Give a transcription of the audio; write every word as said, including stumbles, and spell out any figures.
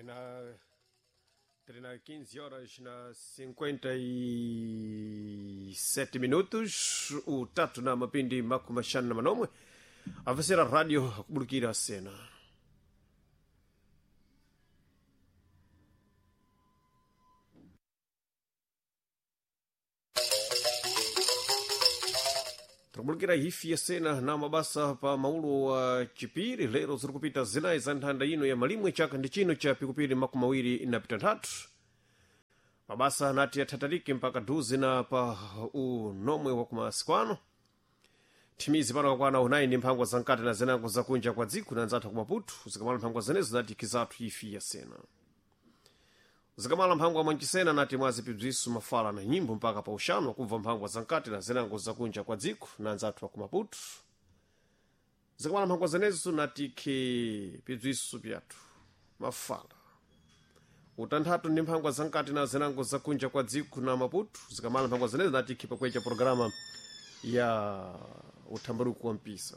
Trina, trina quinze horas na cinquenta e sete minutos, utatu na mapindi makumi mashanu na manomwe, avasera radio akubulukira sena. Tikubulukira hifi ya sena na mabasa pa maulo wa chipiri. Lero ziri kupita zinayi za nthanda ino ya malimwe, chaka ndi chino cha pikupiri makumi mawiri na pitanthatu. Mabasa anati athatalike mpaka duzi na pa unomwe wa kumasikwano. Thimizi pano kakwana unayi ndi mphangwa zamkati na zinango zakunja kwa dziko na nzathu ku Maputo. Zikamala mphangwa zenezo nati kizathu ifi ya sena. Zikamala mphangwa mwanchisena nati mwazipibziso mafala na nyimbo mpaka pa uxanu akubva mphangwa zamkati na zinango zakunja kwa dziko na nzathu wa ku Maputo. Zikamala mphangwa zenezo nati khe pibziso pyathu mafala utanthatu ndi mphangwa zamkati na zinango zakunja kwa dziko na Maputo. Zikamala mphangwa zenezo nati khe pakwecha programa ya uthambaruku wa mpisa.